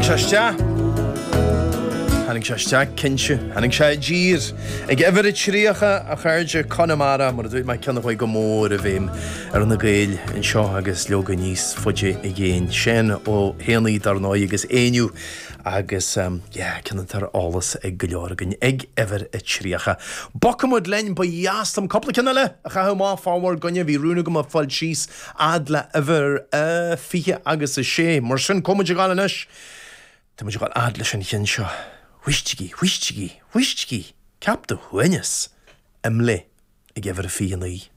Tháinig sé isteach. Tháinig sé isteach, cinnte. Tháinig sé i dtír. Ag uimhir a 30, a chairde, Conamara, mar a dúirt mé, ceann a chuaigh go mór i bhfeidhm ar na Gaeil anseo agus leoga níos faide i gcéin. Seán Ó hÉanaí, dar ndóigh, agus Éinniú agus, yeah, ceann atá ar eolas ag go leor againn ag uimhir a 30. Bogfaidh muid linn, ba dheas liom cúpla ceann eile a chaitheamh amach fá bhur gcoinne, bhí rún agam a fáil síos fhad le uimhir a 20 agus a sé. Mar sin, cá bhfuil muid ag gabháil anois? Tá muid ag gabháil fhad leis an cheann seo. Éistigí, éistigí, éistigí! Ceap do shuaimhneas! Imlé ag uimhir a 29.